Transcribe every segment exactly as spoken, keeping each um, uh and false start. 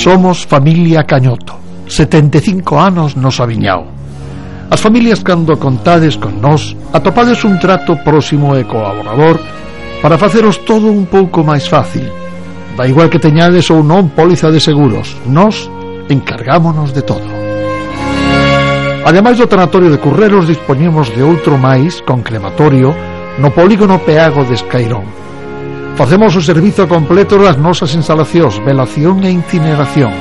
Somos familia Cañoto, setenta e cinco anos nos aviñao. As familias, cando contades con nós, atopades un trato próximo e colaborador para faceros todo un pouco máis fácil. Da igual que teñades ou non póliza de seguros, nós encargámonos de todo. Ademais do tanatorio de Curreros, dispoñemos de outro máis con crematorio no polígono Peago de Escairón. Facemos o servizo completo das nosas instalacións, velación e incineración,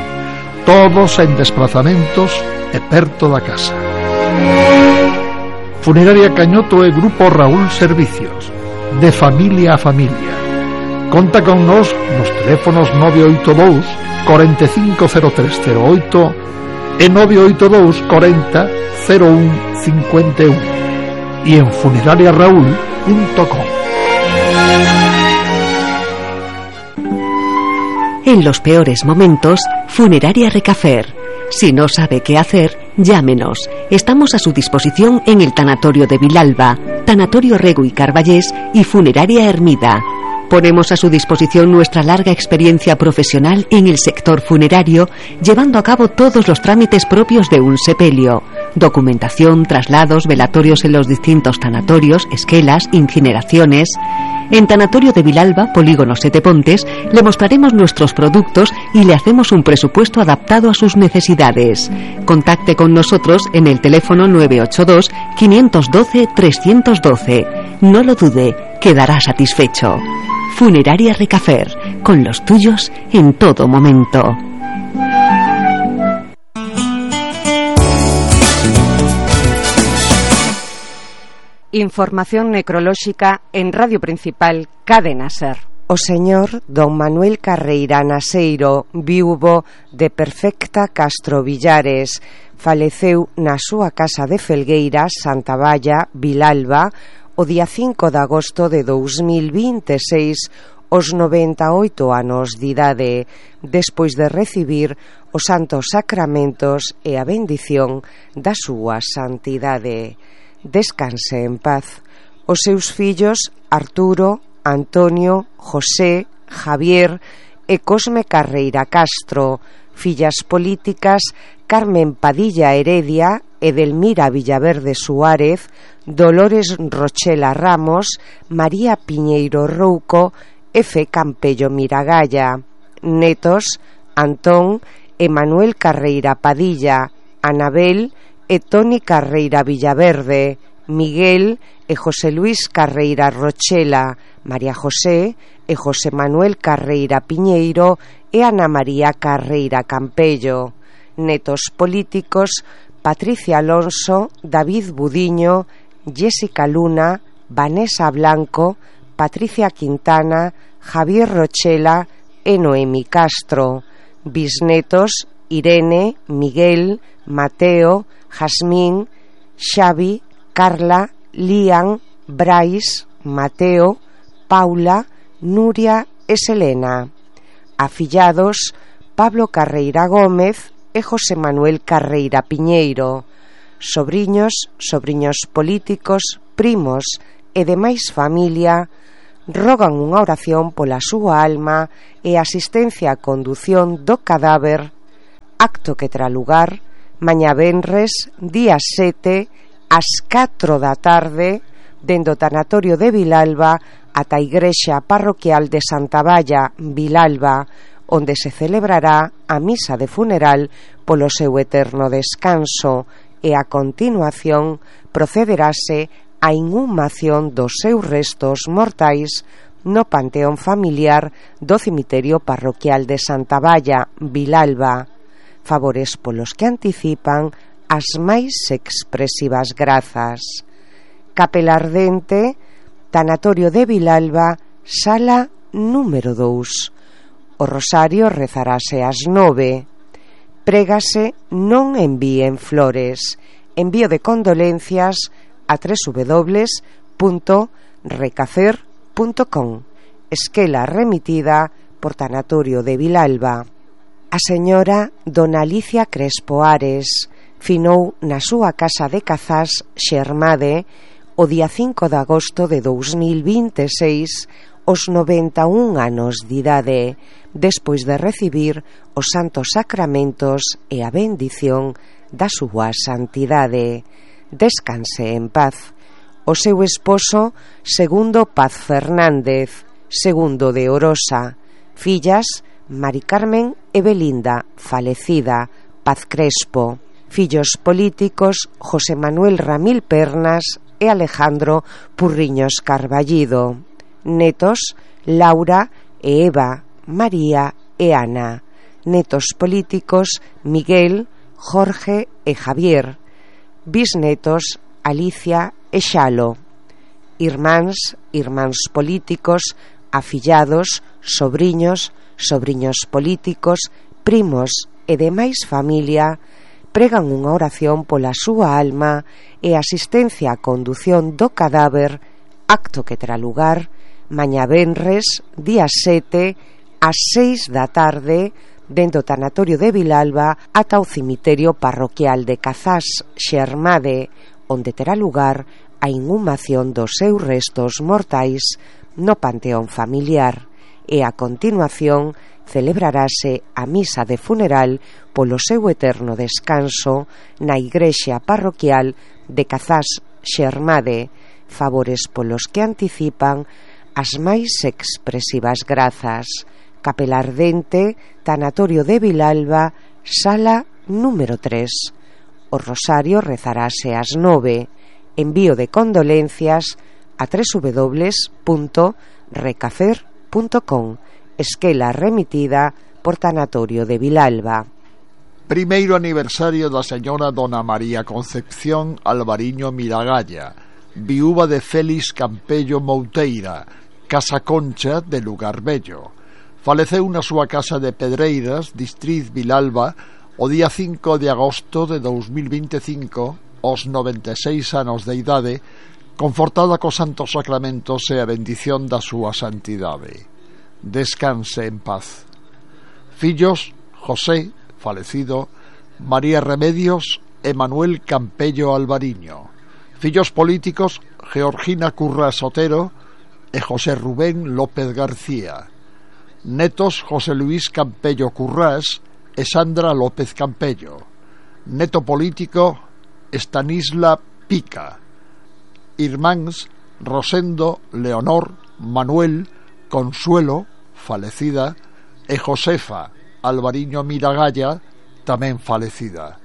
todos en desplazamentos e perto da casa. Funeraria Cañoto e Grupo Raúl Servicios, de familia a familia. Conta con nós nos teléfonos nove oito dous, cuarenta e cinco cero tres cero oito e nove oito dous, cuarenta cero un cincuenta e un e en funeraria raúl punto com. En los peores momentos, Funeraria Recafer. Si no sabe qué hacer, llámenos. Estamos a su disposición en el Tanatorio de Vilalba, Tanatorio Rego y Carballés y Funeraria Hermida. Ponemos a su disposición nuestra larga experiencia profesional en el sector funerario, llevando a cabo todos los trámites propios de un sepelio: documentación, traslados, velatorios en los distintos tanatorios, esquelas, incineraciones. En Tanatorio de Vilalba, Polígono Sete Pontes, le mostraremos nuestros productos y le hacemos un presupuesto adaptado a sus necesidades. Contacte con nosotros en el teléfono nueve ocho dos, cinco uno dos, tres uno dos. No lo dude, quedará satisfecho. Funeraria Recafer, con los tuyos en todo momento. Información necrolóxica en Radio Principal, Cadena Ser. O señor don Manuel Carreira Naseiro, viúvo de Perfecta Castro Villares, faleceu na súa casa de Felgueiras, Santa Valla, Vilalba, o día cinco de agosto de dous mil vinte e seis, aos noventa e oito anos de idade, despois de recibir os santos sacramentos e a bendición da súa santidade. Descanse en paz. Os seus fillos Arturo, Antonio, José, Javier e Cosme Carreira Castro, fillas políticas Carmen Padilla Heredia, Edelmira Villaverde Suárez, Dolores Rochela Ramos, María Piñeiro Rouco e Fe Campello Miragalla. Netos Antón e Manuel Carreira Padilla, Anabel e Toni Carreira Villaverde, Miguel e José Luis Carreira Rochela, María José e José Manuel Carreira Piñeiro e Ana María Carreira Campello. Netos políticos Patricia Alonso, David Budiño, Jessica Luna, Vanessa Blanco, Patricia Quintana, Javier Rochela e Noemi Castro. Bisnetos Irene, Miguel, Mateo, Jasmín, Xavi, Carla, Lian, Brais, Mateo, Paula, Nuria e Selena. Afillados Pablo Carreira Gómez e José Manuel Carreira Piñeiro. Sobriños, sobriños políticos, primos e demais familia rogan unha oración pola súa alma e asistencia á condución do cadáver, acto que terá lugar mañá venres, día sete, ás catro da tarde, dende o tanatorio de Vilalba ata a igrexa parroquial de Santa Valla, Vilalba, onde se celebrará a misa de funeral polo seu eterno descanso e a continuación procederase a inhumación dos seus restos mortais no panteón familiar do cemiterio parroquial de Santa Valla, Vilalba. Favores polos que anticipan as máis expresivas grazas. Capela Ardente, Tanatorio de Vilalba, sala número dous. O rosario rezarase ás nove. Prégase non envíen flores. Envío de condolencias a doble u doble u doble u punto recacer punto com. Esquela remitida por Tanatorio de Vilalba. A señora dona Alicia Crespo Ares finou na súa casa de Cazás, Xermade, o día cinco de agosto de dous mil vinte e seis, os noventa e un anos de idade, despois de recibir os santos sacramentos e a bendición da súa santidade. Descanse en paz. O seu esposo, Segundo Paz Fernández, Segundo de Orosa. Fillas, Mari Carmen e Belinda, falecida, Paz Crespo. Fillos políticos, José Manuel Ramil Pernas e Alejandro Purriños Carballido. Netos, Laura e Eva, María e Ana. Netos políticos, Miguel, Jorge e Javier. Bisnetos, Alicia e Xalo. Irmáns, irmáns políticos, afillados, sobriños, sobriños políticos, primos e demais familia pregan unha oración pola súa alma e asistencia á condución do cadáver, acto que terá lugar mañá venres, día sete, ás seis da tarde, dentro do tanatorio de Vilalba ata o cemiterio parroquial de Cazás Xermade, onde terá lugar a inhumación dos seus restos mortais no panteón familiar, e a continuación celebrarase a misa de funeral polo seu eterno descanso na igrexa parroquial de Cazás Xermade, favores polos que anticipan as máis expresivas grazas. Capela Ardente, Tanatorio de Vilalba, sala número tres. O rosario rezarase ás nove. Envío de condolencias a doble u doble u doble u punto recafer punto com. Esquela remitida por Tanatorio de Vilalba. Primeiro aniversario da señora Dona María Concepción Alvariño Miragalla, viúva de Félix Campello Mouteira, Casa Concha de Lugar Bello. Faleceu na súa casa de Pedreiras, Distriz Vilalba, o día cinco de agosto de dous mil vinte e cinco, aos noventa e seis anos de idade, confortada cos santos sacramentos e a bendición da súa santidade. Descanse en paz. Fillos, José, falecido, María Remedios e Manuel Campello Alvariño. Fillos políticos, Georgina Currás Otero e José Rubén López García. Netos, José Luis Campello Currás e Sandra López Campello. Neto político, Estanisla Pica. Irmáns, Rosendo, Leonor, Manuel, Consuelo, falecida, e Josefa Alvariño Miragalla, tamén falecida.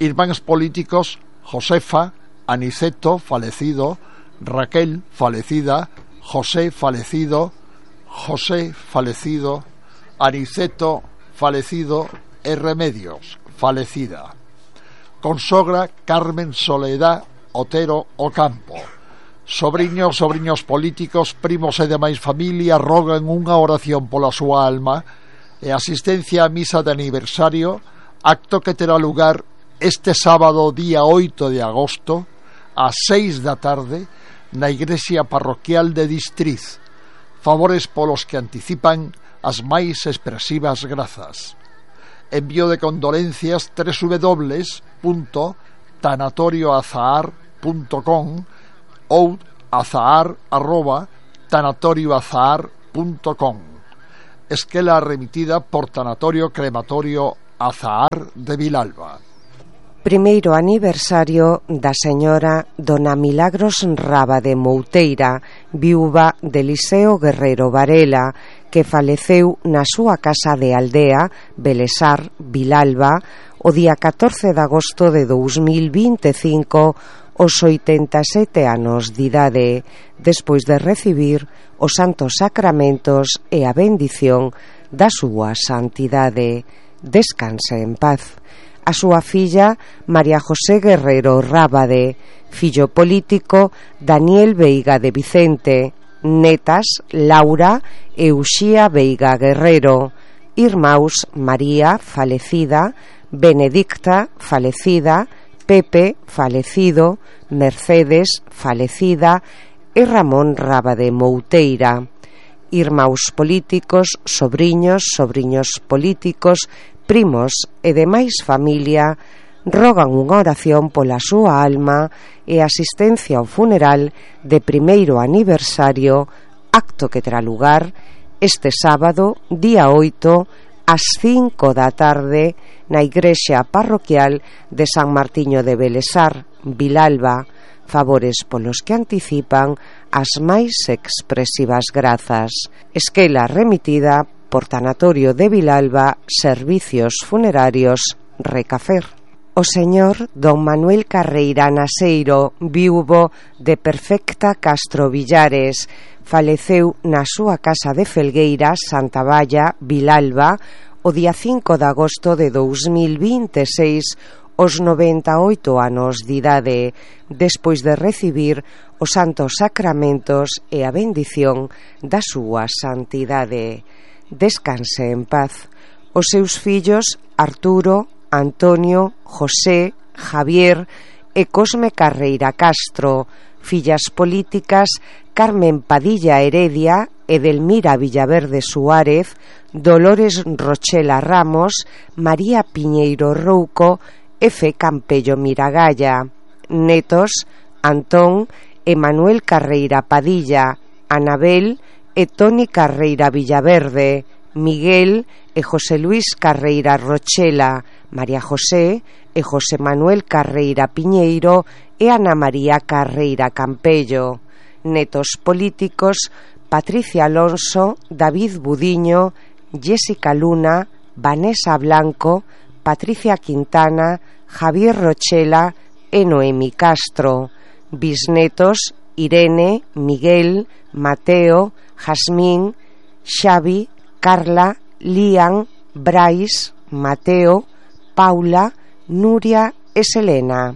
Irmáns políticos, Josefa, Aniceto, falecido, Raquel, falecida, José, falecido, José, falecido, Aniceto, falecido e Remedios, falecida. Consogra Carmen Soledad Otero Ocampo. Sobriños, sobriños políticos, primos e demais familia rogan unha oración pola súa alma e asistencia á misa de aniversario, acto que terá lugar este sábado día oito de agosto ás seis da tarde na igrexa parroquial de Distriz. Favores polos que anticipan as máis expresivas grazas. Envío de condolencias doble u doble u doble u punto tanatorioazahar punto com ou azahar arroba tanatorioazahar punto com. Esquela remitida por Tanatorio Crematorio Azahar de Vilalba. Primeiro aniversario da señora Dona Milagros Rábade Mouteira, viúva de Eliseo Guerrero Varela, que faleceu na súa casa de aldea, Belesar, Vilalba, o día catorce de agosto de dous mil vinte e cinco, aos oitenta e sete anos de idade, despois de recibir os santos sacramentos e a bendición da súa santidade. Descanse en paz. A súa filla, María José Guerrero Rábade, fillo político, Daniel Veiga de Vicente, netas, Laura e Uxía Veiga Guerrero, irmãos, María, falecida, Benedicta, falecida, Pepe, falecido, Mercedes, falecida, e Ramón Rábade Mouteira. Irmãos políticos, sobriños, sobriños políticos, primos e demais familia rogan unha oración pola súa alma e asistencia ao funeral de primeiro aniversario, acto que terá lugar este sábado, día oito, ás cinco da tarde, na igrexa parroquial de San Martiño de Belesar, Vilalba. Favores polos que anticipan as máis expresivas grazas. Esquela remitida por Tanatorio de Vilalba, Servicios Funerarios Recafer. O señor don Manuel Carreira Naseiro, viúvo de Perfecta Castro Villares, faleceu na súa casa de Felgueiras, Santa Valla, Vilalba, o día cinco de agosto de dous mil vinte e seis, aos noventa e oito anos de idade, despois de recibir os santos sacramentos e a bendición da súa santidade. Descanse en paz. Os seus fillos Arturo, Antonio, José, Javier e Cosme Carreira Castro, fillas políticas Carmen Padilla Heredia, Edelmira Villaverde Suárez, Dolores Rochela Ramos, María Piñeiro Rouco e Fe Campello Miragalla. Netos Antón e Manuel Carreira Padilla, Anabel e Toni Carreira Villaverde, Miguel e José Luis Carreira Rochela, María José e José Manuel Carreira Piñeiro e Ana María Carreira Campello. Netos políticos Patricia Alonso, David Budiño, Jessica Luna, Vanessa Blanco, Patricia Quintana, Javier Rochela e Noemi Castro. Bisnetos Irene, Miguel, Mateo, Jazmín, Xavi, Carla, Lian, Brais, Mateo, Paula, Nuria e Selena.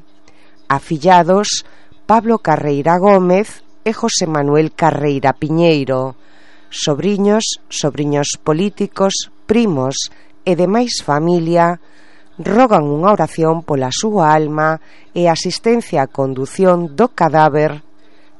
Afillados Pablo Carreira Gómez e José Manuel Carreira Piñeiro. Sobriños, sobriños políticos, primos e demais familia rogan unha oración pola súa alma e asistencia á condución do cadáver,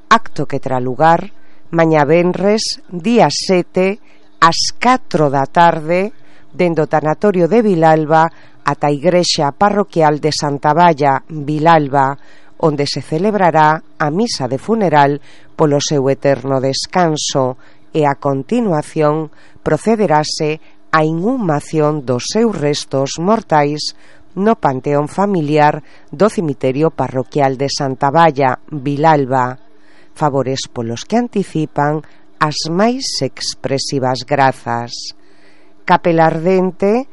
acto que terá lugar mañá venres, día sete, ás catro da tarde, dende o tanatorio de Vilalba ata a igrexa parroquial de Santa Valla, Vilalba, onde se celebrará a misa de funeral polo seu eterno descanso e a continuación procederase a inhumación dos seus restos mortais no panteón familiar do cemiterio parroquial de Santa Valla, Vilalba. Favores polos que anticipan as máis expresivas grazas. Capela Ardente,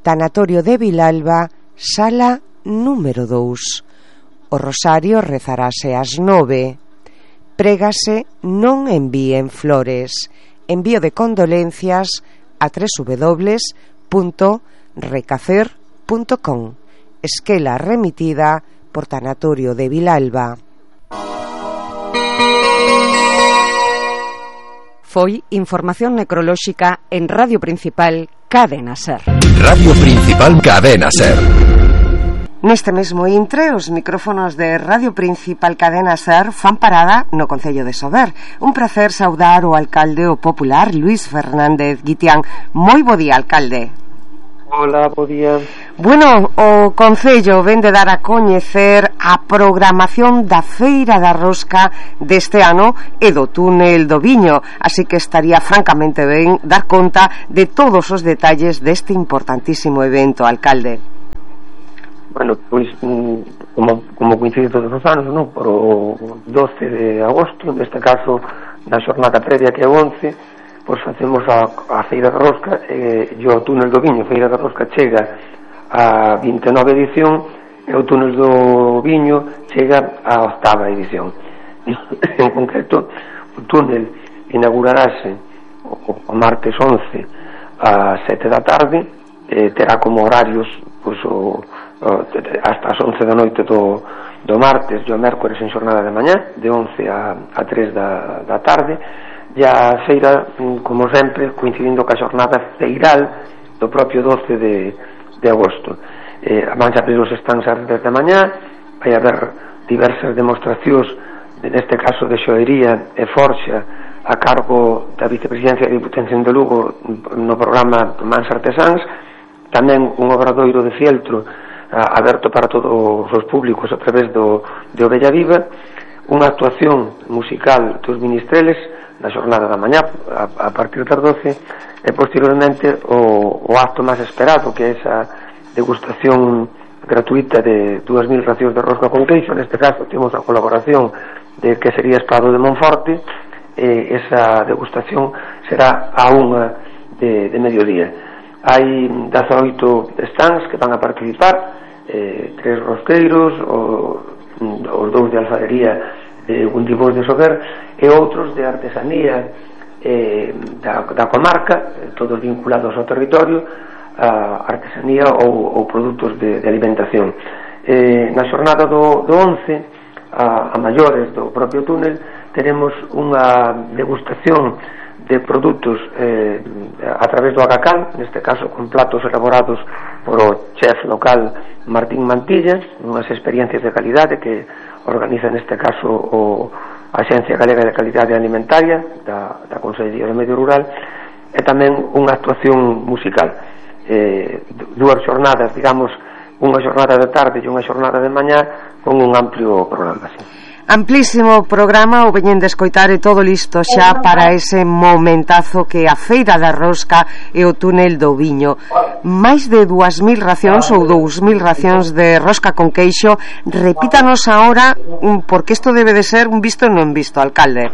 Tanatorio de Vilalba, sala número dous. O rosario rezarase ás nove. Prégase non envíen flores. Envío de condolencias a doble u doble u doble u punto recafer punto com. Esquela remitida por Tanatorio de Vilalba. Foi información necrolóxica en Radio Principal Cadena Ser. Radio Principal Cadena Ser. Neste mesmo intre, os micrófonos de Radio Principal Cadena Ser fan parada no Concello de Sober. Un placer saudar o alcalde o popular Luís Fernández Guitián. Moi bo día, alcalde. Hola, bo día. Bueno, o Concello ven de dar a coñecer a programación da Feira da Rosca deste ano e do túnel do Viño, así que estaría francamente ben dar conta de todos os detalles deste importantísimo evento, alcalde. Bueno, pois como, como coincide todos os anos, non? Por o doce de agosto, neste caso na xornada previa que é o once, pois facemos a, a Feira da Rosca e, e o túnel do Viño. Feira da Rosca chega a vinte e nove edición e o túnel do Viño chega a octava edición. En concreto, o túnel inaugurarase o, o martes once a sete da tarde, e terá como horarios pois o hasta as once da noite do, do martes e o mércores en xornada de mañá, de once a, a tres da, da tarde, e a feira, como sempre, coincidindo ca xornada feiral do propio doce de, de agosto. Eh, van a abrir os stands a redes de mañá, vai haber diversas demostracións, neste caso de xoería e forxa, a cargo da vicepresidencia de Diputación de Lugo no programa Mans Artesáns, tamén un obradoiro de fieltro aberto para todos os públicos a través do, de Ovella Viva, unha actuación musical dos Ministreles na xornada da mañá a, a partir das doce, e posteriormente o, o acto máis esperado, que é esa degustación gratuita de dúas mil racións de rosca con queixo. Neste caso temos a colaboración de que sería Espado de Monforte. E esa degustación será a unha de, de mediodía. Hai dezaoito stands que van a participar, eh, tres rosqueiros, o, os dous de alfarería de Gundibós de Sober e outros de artesanía eh, da, da comarca, todos vinculados ao territorio, a artesanía ou, ou produtos de, de alimentación. Eh, na xornada do, do once, a, a maiores do propio túnel, teremos unha degustación de produtos eh, a través do Agacán, neste caso con platos elaborados por o chef local Martín Mantilla, unhas experiencias de calidade que organiza neste caso o a Axencia Galega de Calidade Alimentaria da, da Consellería de Medio Rural, e tamén unha actuación musical. Eh, dúas xornadas, digamos, unha xornada de tarde e unha xornada de mañá con un amplio programa, sí. Amplísimo programa, o veñen de escoitar e todo listo xa para ese momentazo que a Feira da Rosca e o túnel do Viño. Máis de dúas mil racións ou dous mil racións de rosca con queixo. Repítanos agora, porque isto debe de ser un visto e non visto, alcalde.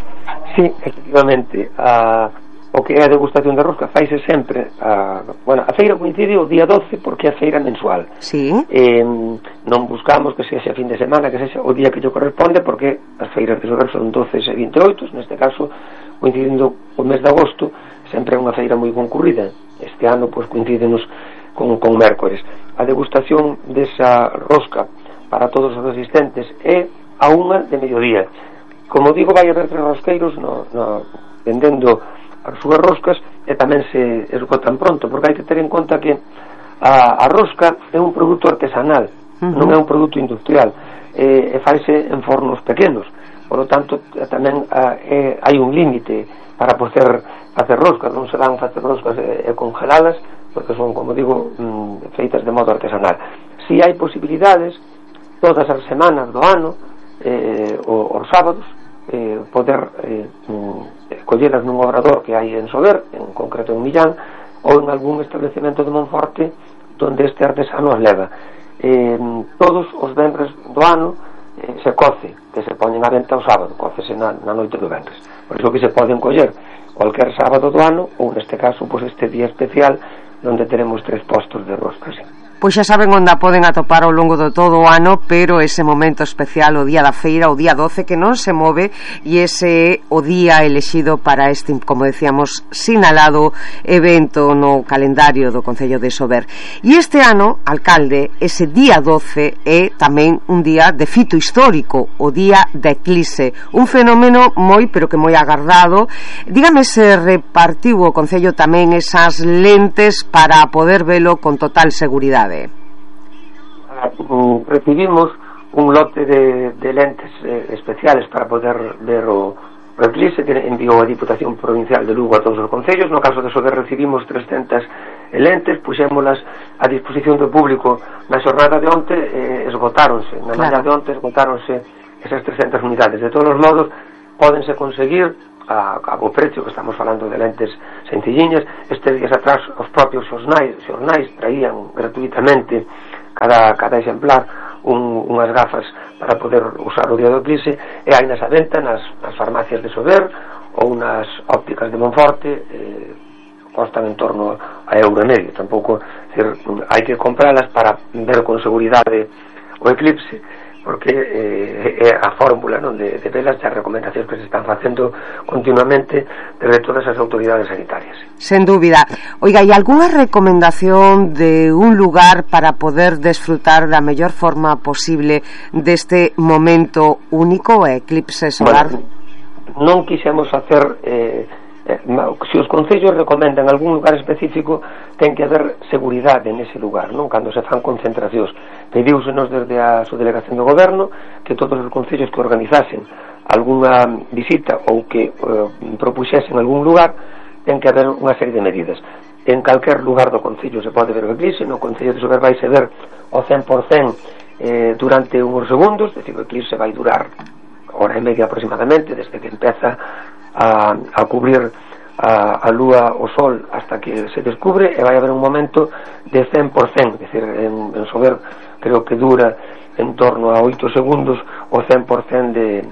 Sí, efectivamente, a... o que é a degustación de rosca faise sempre a, bueno, a feira coincide o día doce porque é a feira mensual. Sí. Eh, non buscamos que sexa fin de semana, que sexa o día que lle corresponde, porque as feiras de Sober son doce e vinte e oito, neste caso coincidindo o mes de agosto, sempre é unha feira moi concurrida. Este ano pois coincidenos con, con mércores. A degustación desa rosca para todos os asistentes é a unha de mediodía. Como digo, vai haber tres rosqueiros no, no, vendendo as súas roscas, e tamén se esgotan pronto, porque hai que ter en conta que a, a rosca é un produto artesanal, uh-huh. non é un produto industrial, e, e faise en fornos pequenos, por lo tanto tamén a, e, hai un límite para poder facer roscas, non se dan facer roscas e, e congeladas, porque son, como digo, mm, feitas de modo artesanal. Si hai posibilidades todas as semanas do ano, eh, os sábados, eh, poder eh, collelas nun obrador que hai en Sober, en concreto en Millán, ou en algún establecemento de Monforte donde este artesano as leva. Eh, todos os venres do ano eh, se coce, que se poñen a venta o sábado, cócese na, na noite do venres. Por iso que se poden coller cualquier sábado do ano, ou neste caso, pois este día especial donde teremos tres postos de roscas. Pois xa saben onde a poden atopar ao longo do todo o ano, pero ese momento especial, o día da feira, o día doce, que non se move, e ese é o día elexido para este, como decíamos, sinalado evento no calendario do Concello de Sober. E este ano, alcalde, ese día doce é tamén un día de fito histórico, o día da eclipse, un fenómeno moi, pero que moi agardado. Dígame se repartiu o Concello tamén esas lentes para poder velo con total seguridade. Recibimos un lote de, de lentes eh, especiales para poder ver o, o eclipse que enviou a Diputación Provincial de Lugo a todos os concellos. No caso de Sober recibimos trescentas lentes, puxémolas a disposición do público na xornada de onte, eh, esgotáronse na mañá de onte, esgotáronse esas trescentas unidades. De todos os modos, pódense conseguir a, a bo precio, que estamos falando de lentes sencilliñas. Estes días atrás os propios xornais, xornais traían gratuitamente cada, cada exemplar un, unhas gafas para poder usar o día do eclipse, e hai nas a venta nas, nas farmacias de Sober ou nas ópticas de Monforte. eh, costan en torno a euro e medio. Tampouco, decir, hai que compralas para ver con seguridade o eclipse, porque eh, é a fórmula, non, de, de velas e as recomendacións que se están facendo continuamente desde todas as autoridades sanitarias. Sen dúbida. Oiga, hai algunha recomendación de un lugar para poder desfrutar da mellor forma posible deste momento único, o eclipse solar? Bueno, non quixemos hacer... Eh, Eh, se os concellos recomendan algún lugar específico, ten que haber seguridade nese lugar, non? Cando se fan concentracións, pediúsenos desde a subdelegación do goberno que todos os concellos que organizasen algunha visita ou que eh, propuxesen algún lugar, ten que haber unha serie de medidas. En calquer lugar do concello se pode ver o eclipse. No Concello de Sober vai se ver o cen por cen eh, durante unhos segundos, decir, o eclipse vai durar hora e media aproximadamente, desde que empeza a, a cubrir a, a lúa, o sol, hasta que se descubre, e vai haber un momento de cen por cen, é dicir, en, en Sober creo que dura en torno a oito segundos o cen por cen de,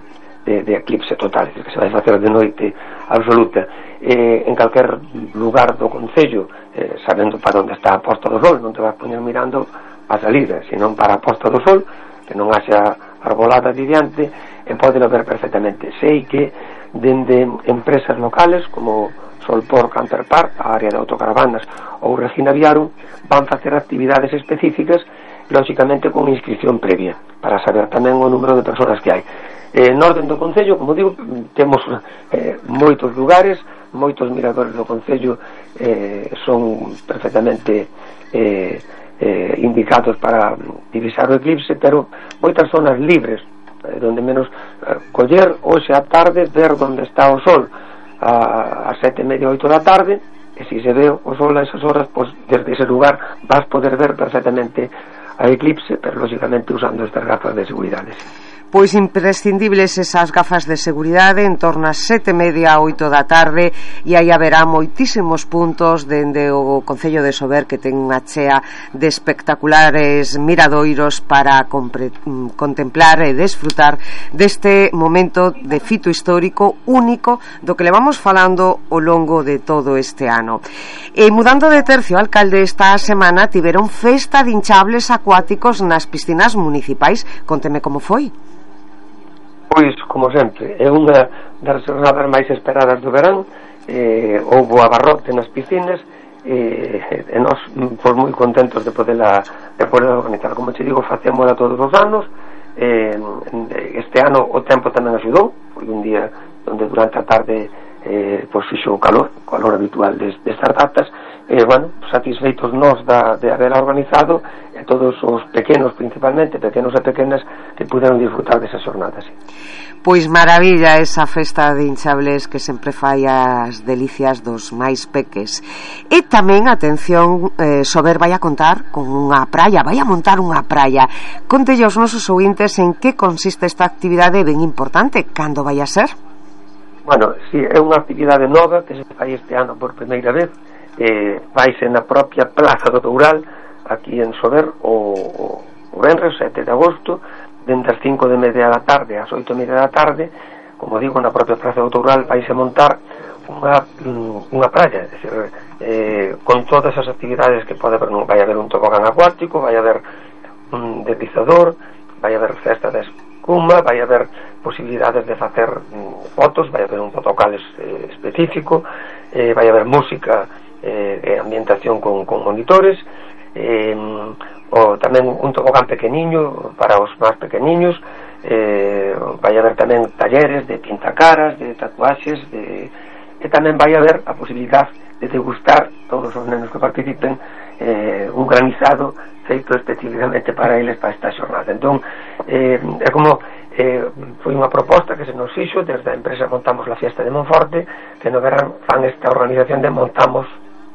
de, de eclipse total, é dicir, que se vai facer de noite absoluta. Eh, en calquer lugar do concello, eh, sabendo para onde está a posta do sol, non te vas poñer mirando a salida, senón para a posta do sol, que non haxa arbolada de diante, e poden ver perfectamente. Sei que dende empresas locales como Solpor Camper Park, a área de autocaravanas, ou Regina Viarum, van facer actividades específicas, lógicamente con inscripción previa, para saber tamén o número de persoas que hai. Eh, en orden do concello, como digo, temos eh, moitos lugares, moitos miradores do concello eh, son perfectamente eh, eh, indicados para divisar o eclipse, pero moitas zonas libres, eh, donde menos eh, coller hoxe a tarde, ver onde está o sol a, a sete e media, oito da tarde, e se se ve o sol a esas horas, pues, desde ese lugar vas poder ver perfectamente a eclipse, pero lógicamente usando estas gafas de seguridade. Pois imprescindibles esas gafas de seguridade en torno a sete e media a oito da tarde, e aí haberá moitísimos puntos dende o Concello de Sober que ten unha chea de espectaculares miradoiros para compre, contemplar e desfrutar deste momento de fito histórico único do que levamos falando ao longo de todo este ano. E mudando de tercio, alcalde, esta semana tiveron festa de hinchables acuáticos nas piscinas municipais. Conteme como foi. Pois, como sempre, é unha das jornadas máis esperadas do verán. Eh, houbo abarrote nas piscinas, eh, e nós fomos moi contentos de poderla, de poderla organizar. Como te digo, facémola todos os anos. Eh, este ano o tempo tamén axudou, foi un día onde durante a tarde eh, pois fixo o calor, o calor habitual des, destas datas. E, bueno, satisfeitos nós da, de haberla organizado, e todos os pequenos, principalmente, pequenos e pequenas, que puderon disfrutar desas jornadas. Pois maravilla esa festa de hinchables que sempre fai as delicias dos máis peques. E tamén, atención, eh, Sober vai a contar con unha praia, vai a montar unha praia. Contelle aos nosos ouvintes en que consiste esta actividade ben importante, cando vai a ser? Bueno, si é unha actividade nova que se fai este ano por primeira vez. Eh, vaise na propia Plaza do Toural, aquí en Sober, o, o, o venres sete de agosto, dende as cinco de media da tarde ás oito e media da tarde. Como digo, na propia Plaza do Toural vaise montar unha, unha praia, é dicir, eh, con todas as actividades que pode haber. Vai haber un tobogán acuático, vai haber un deslizador, vai haber festa de espuma, vai haber posibilidades de facer mm, fotos, vai haber un fotocales eh, específico, eh, vai haber música e eh, ambientación con, con monitores, eh, o tamén un tobogán pequeniño para os máis pequeniños, eh, vai haber tamén talleres de pintacaras, de tatuaxes, de, e tamén vai haber a posibilidade de degustar todos os nenos que participen eh, un granizado feito especificamente para eles para esta xornada. Entón, eh, é como eh, foi unha proposta que se nos fixo desde a empresa Montamos la Fiesta de Monforte, que no verán fan esta organización de Montamos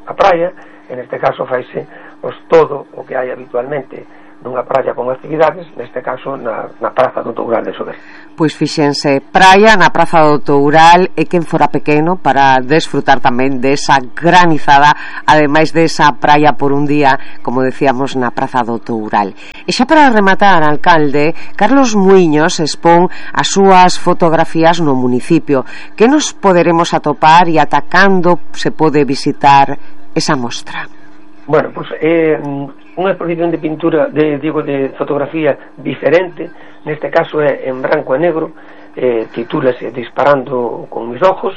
a praia. En este caso faise pues, todo o que hai habitualmente nunha praia con actividades, neste caso na, na Praza do Toural de Sober. Pois fixense, praia na Praza do Toural, e quen fora pequeno para desfrutar tamén desa granizada, ademais desa praia por un día, como decíamos, na Praza do Toural. E xa para rematar, alcalde, Carlos Muiños expón as súas fotografías no municipio. Que nos poderemos atopar e ata cando se pode visitar esa mostra? Bueno, pois pues, é eh, unha exposición de pintura, de, digo, de fotografía diferente. Neste caso é en branco e negro, eh, titúlase Disparando con mis ojos,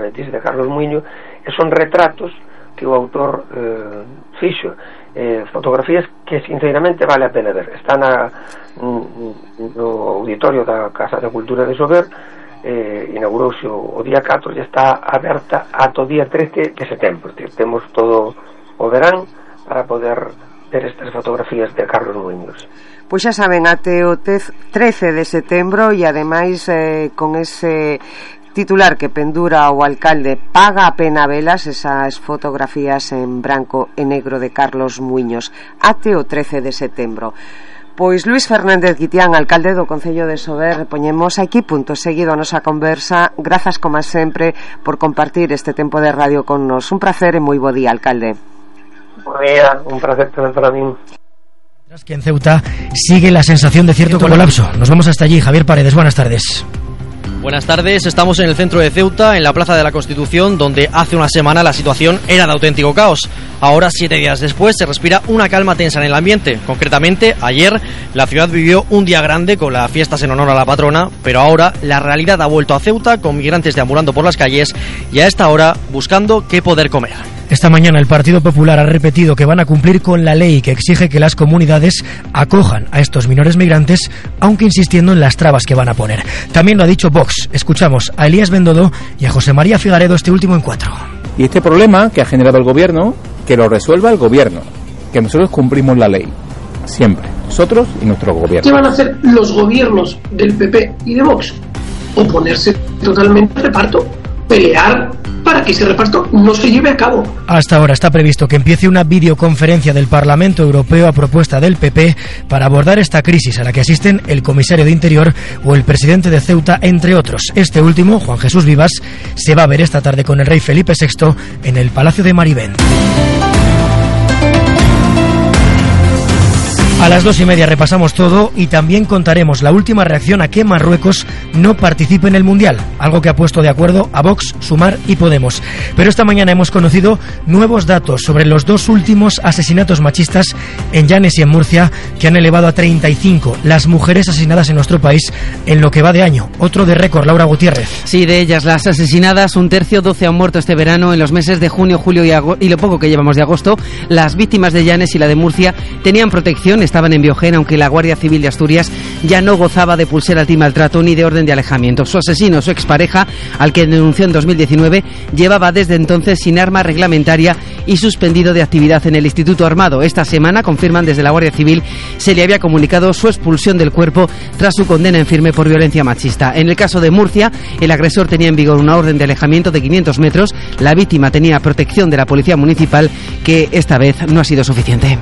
eh, dice de Carlos Muiño, e son retratos que o autor eh, fixo, eh, fotografías que sinceramente vale a pena ver. Está na, no auditorio da Casa de Cultura de Sober, eh, inaugurouse o, o día catro e está aberta ata o día trece de setembro. Temos todo o verán para poder ver estas fotografías de Carlos Muiños. Pois xa saben, até o trece de setembro, e ademais eh, con ese titular que pendura o alcalde, paga a pena velas, esas fotografías en branco e negro de Carlos Muiños, até o trece de setembro. Pois Luís Fernández Guitián, alcalde do Concello de Sober, poñemos aquí punto seguido a nosa conversa. Grazas, como sempre, por compartir este tempo de radio con nos. Un placer e moi bo día, alcalde. Bo día, un placer tamén para min. Mientras que en Ceuta sigue la sensación de cierto colapso. Nos vamos hasta allí. Javier Paredes, buenas tardes. Buenas tardes, estamos en el centro de Ceuta, en la Plaza de la Constitución, donde hace una semana la situación era de auténtico caos. Ahora, siete días después, se respira una calma tensa en el ambiente. Concretamente, ayer la ciudad vivió un día grande con las fiestas en honor a la patrona, pero ahora la realidad ha vuelto a Ceuta, con migrantes deambulando por las calles y a esta hora buscando qué poder comer. Esta mañana el Partido Popular ha repetido que van a cumplir con la ley que exige que las comunidades acojan a estos menores migrantes, aunque insistiendo en las trabas que van a poner. También lo ha dicho Vox. Escuchamos a Elías Bendodo y a José María Figaredo, este último en Cuatro. Y este problema que ha generado el gobierno, que lo resuelva el gobierno, que nosotros cumplimos la ley, siempre, nosotros y nuestro gobierno. ¿Qué van a hacer los gobiernos del P P y de Vox? Oponerse totalmente al reparto, pelear para que ese reparto no se lleve a cabo. Hasta ahora está previsto que empiece una videoconferencia del Parlamento Europeo a propuesta del P P para abordar esta crisis a la que asisten el comisario de Interior o el presidente de Ceuta, entre otros. Este último, Juan Jesús Vivas, se va a ver esta tarde con el rey Felipe sexto en el Palacio de Marivén. A las dos y media repasamos todo y también contaremos la última reacción a que Marruecos no participe en el Mundial, algo que ha puesto de acuerdo a Vox, Sumar y Podemos. Pero esta mañana hemos conocido nuevos datos sobre los dos últimos asesinatos machistas en Llanes y en Murcia, que han elevado a treinta y cinco las mujeres asesinadas en nuestro país en lo que va de año. Otro de récord, Laura Gutiérrez. Sí, de ellas las asesinadas, un tercio, doce han muerto este verano. En los meses de junio, julio y, agosto, y lo poco que llevamos de agosto, las víctimas de Llanes y la de Murcia tenían protección, estaban en Biogén, aunque la Guardia Civil de Asturias ya no gozaba de pulsera antimaltrato ni de orden de alejamiento. Su asesino, su expareja, al que denunció en dos mil diecinueve, llevaba desde entonces sin arma reglamentaria y suspendido de actividad en el Instituto Armado. Esta semana, confirman desde la Guardia Civil, se le había comunicado su expulsión del cuerpo tras su condena en firme por violencia machista. En el caso de Murcia, el agresor tenía en vigor una orden de alejamiento de quinientos metros. La víctima tenía protección de la Policía Municipal, que esta vez no ha sido suficiente.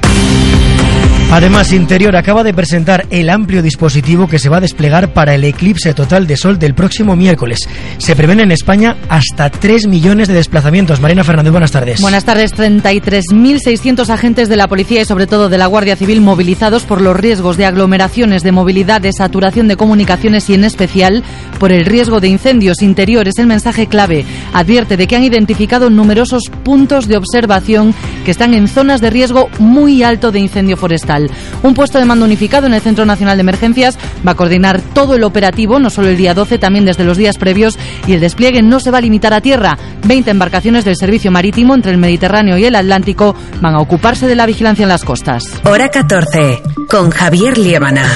Además, Interior acaba de presentar el amplio dispositivo que se va a desplegar para el eclipse total de sol del próximo miércoles. Se prevén en España hasta tres millones de desplazamientos. Marina Fernández, buenas tardes. Buenas tardes. treinta y tres mil seiscientos agentes de la Policía y sobre todo de la Guardia Civil movilizados por los riesgos de aglomeraciones, de movilidad, de saturación de comunicaciones y en especial por el riesgo de incendios. Interior es el mensaje clave. Advierte de que han identificado numerosos puntos de observación que están en zonas de riesgo muy alto de incendio forestal. Un puesto de mando unificado en el Centro Nacional de Emergencias va a coordinar todo el operativo, no solo el día doce, también desde los días previos, y el despliegue no se va a limitar a tierra. veinte embarcaciones del servicio marítimo entre el Mediterráneo y el Atlántico van a ocuparse de la vigilancia en las costas. Hora catorce, con Javier Liébana.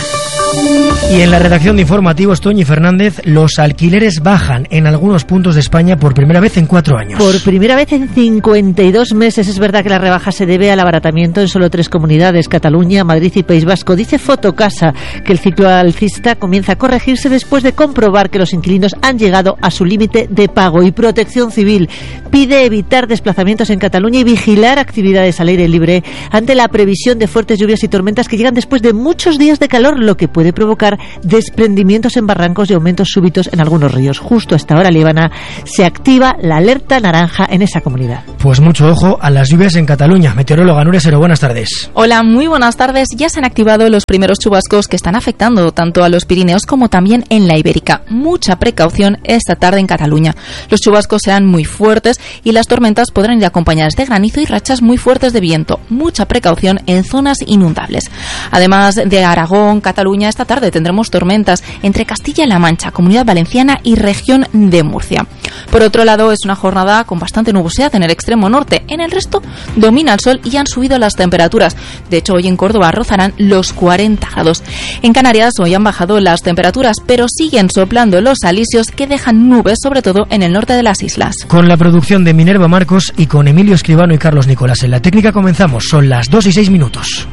Y en la redacción de informativos, Toñi Fernández, los alquileres bajan en algunos puntos de España por primera vez en cuatro años. Por primera vez en cincuenta y dos meses. Es verdad que la rebaja se debe al abaratamiento en solo tres comunidades, Cataluña, Madrid y País Vasco. Dice Fotocasa que el ciclo alcista comienza a corregirse después de comprobar que los inquilinos han llegado a su límite de pago. Y Protección Civil pide evitar desplazamientos en Cataluña y vigilar actividades al aire libre ante la previsión de fuertes lluvias y tormentas que llegan después de muchos días de calor, lo que puede provocar desprendimientos en barrancos y aumentos súbitos en algunos ríos. Justo a esta hora, Líbana, se activa la alerta naranja en esa comunidad. Pues mucho ojo a las lluvias en Cataluña. Meteoróloga Nuria Sero, buenas tardes. Hola, muy buenas tardes. Ya se han activado los primeros chubascos que están afectando tanto a los Pirineos como también en la Ibérica. Mucha precaución esta tarde en Cataluña. Los chubascos serán muy fuertes y las tormentas podrán ir acompañadas de granizo y rachas muy fuertes de viento. Mucha precaución en zonas inundables. Además de Aragón, Cataluña, esta tarde tendremos tormentas entre Castilla-La Mancha, Comunidad Valenciana y región de Murcia. Por otro lado, es una jornada con bastante nubosidad en el extremo norte. En el resto domina el sol y han subido las temperaturas. De hecho, hoy en Córdoba rozarán los cuarenta grados. En Canarias hoy han bajado las temperaturas, pero siguen soplando los alisios que dejan nubes, sobre todo en el norte de las islas. Con la producción de Minerva Marcos y con Emilio Escribano y Carlos Nicolás en la técnica comenzamos. Son las dos y seis minutos.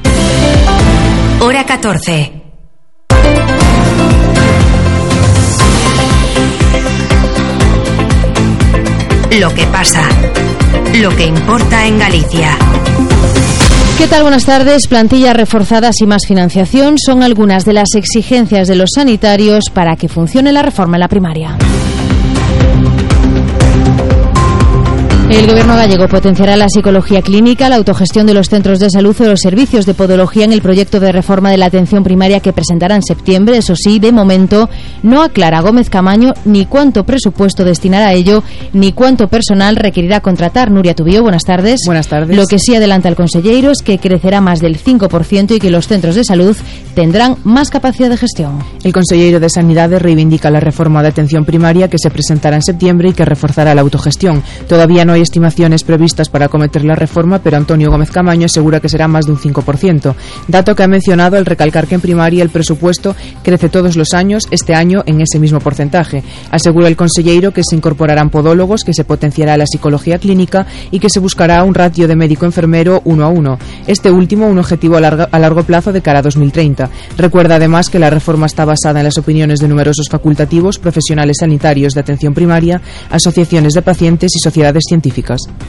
Hora catorce. Lo que pasa, lo que importa en Galicia. ¿Qué tal? Buenas tardes. Plantillas reforzadas y más financiación son algunas de las exigencias de los sanitarios para que funcione la reforma en la primaria. El Gobierno gallego potenciará la psicología clínica, la autogestión de los centros de salud o los servicios de podología en el proyecto de reforma de la atención primaria que presentará en septiembre. Eso sí, de momento no aclara Gómez Camaño ni cuánto presupuesto destinará a ello, ni cuánto personal requerirá contratar. Nuria Tubío, buenas tardes. Buenas tardes. Lo que sí adelanta el consellero es que crecerá más del cinco por ciento y que los centros de salud tendrán más capacidad de gestión. El consellero de Sanidades reivindica la reforma de atención primaria que se presentará en septiembre y que reforzará la autogestión. Todavía no hay estimaciones previstas para acometer la reforma, pero Antonio Gómez Camaño asegura que será más de un cinco por ciento. Dato que ha mencionado al recalcar que en primaria el presupuesto crece todos los años, este año en ese mismo porcentaje. Asegura el consellero que se incorporarán podólogos, que se potenciará la psicología clínica y que se buscará un ratio de médico-enfermero uno a uno. Este último un objetivo a largo, a largo plazo de cara a dos mil treinta. Recuerda además que la reforma está basada en las opiniones de numerosos facultativos, profesionales sanitarios de atención primaria, asociaciones de pacientes y sociedades científicas.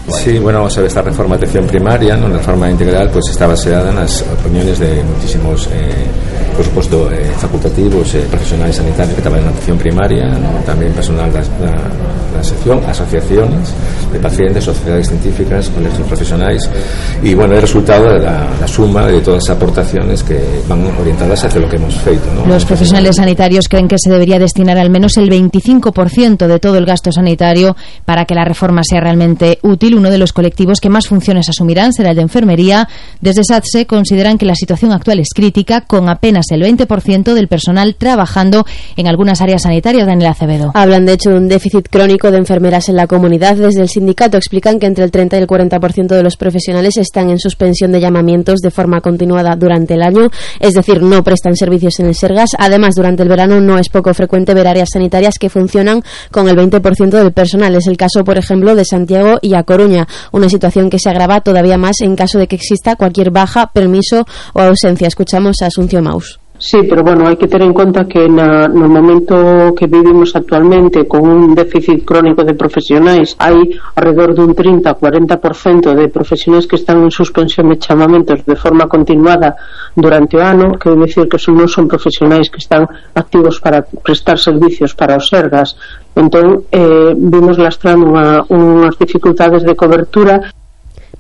Sí, bueno, vamos a ver, esta reforma de atención primaria, ¿no? La reforma integral, pues está basada en las opiniones de muchísimos, eh, por supuesto, eh, facultativos, eh, profesionales sanitarios que trabajan en atención primaria, ¿no? También personal de la, la sección, asociaciones de pacientes, sociedades científicas, colegios profesionales, y bueno, el resultado de la, la suma de todas las aportaciones que van orientadas hacia lo que hemos feito, ¿no? Los profesionales sanitarios creen que se debería destinar al menos el veinticinco por ciento de todo el gasto sanitario para que la reforma sea realmente útil. Uno de los colectivos que más funciones asumirán será el de enfermería. Desde SATSE consideran que la situación actual es crítica, con apenas el veinte por ciento del personal trabajando en algunas áreas sanitarias. Daniel Acevedo. Hablan de hecho de un déficit crónico de enfermeras en la comunidad. Desde el sindicato explican que entre el treinta y el cuarenta por ciento de los profesionales están en suspensión de llamamientos de forma continuada durante el año, es decir, no prestan servicios en el Sergas. Además, durante el verano no es poco frecuente ver áreas sanitarias que funcionan con el veinte por ciento del personal. Es el caso, por ejemplo, de Santiago y A Coruña, una situación que se agrava todavía más en caso de que exista cualquier baja, permiso o ausencia. Escuchamos a Asunción Maus. Sí, pero bueno, hay que tener en cuenta que na, no momento que vivimos actualmente con un déficit crónico de profesionais, hai alrededor dun trinta a cuarenta por ciento de profesionais que están en suspensión de chamamentos de forma continuada durante o ano, que é dicir que son, non son profesionais que están activos para prestar servicios para os Sergas. Entón, eh, vimos lastrando unha, unhas dificultades de cobertura.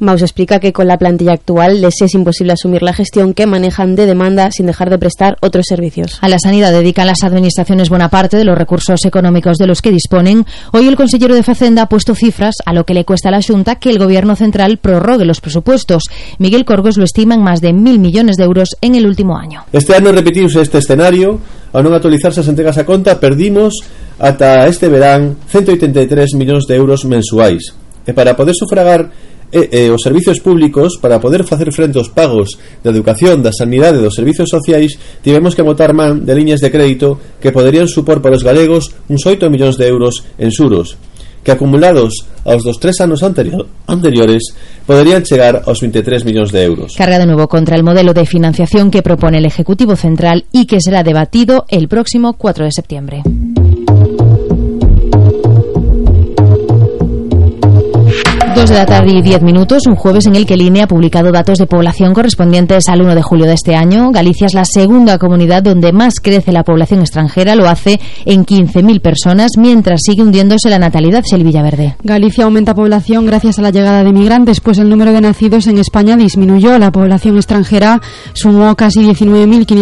Maus explica que con la plantilla actual les es imposible asumir la gestión que manejan de demanda sin dejar de prestar otros servicios. A la sanidad dedican las administraciones buena parte de los recursos económicos de los que disponen. Hoy el consellero de Facenda ha puesto cifras a lo que le cuesta a la Xunta que el Gobierno central prorrogue los presupuestos. Miguel Corgos lo estima en más de mil millones de euros en el último año. Este ano repetiuse este escenario. Ao non actualizarse as entregas a conta, perdimos ata este verán ciento ochenta e tres millóns de euros mensuais. E para poder sufragar E, e os servicios públicos, para poder facer frente aos pagos da educación, da sanidade e dos servicios sociais, tivemos que botar man de liñas de crédito que poderían supor para os galegos uns oito millóns de euros en xuros, que acumulados aos dos tres anos anterior, anteriores poderían chegar aos veintitrés millóns de euros. Carga de nuevo contra el modelo de financiación que propone el Ejecutivo Central y que será debatido el próximo cuatro de septiembre. Dos de la tarde y diez minutos, un jueves en el que el I N E ha publicado datos de población correspondientes al uno de julio de este año. Galicia es la segunda comunidad donde más crece la población extranjera, lo hace en quince mil personas, mientras sigue hundiéndose la natalidad. Silvia Villaverde. Galicia aumenta población gracias a la llegada de migrantes, pues el número de nacidos en España disminuyó. La población extranjera sumó casi diecinueve mil quinientos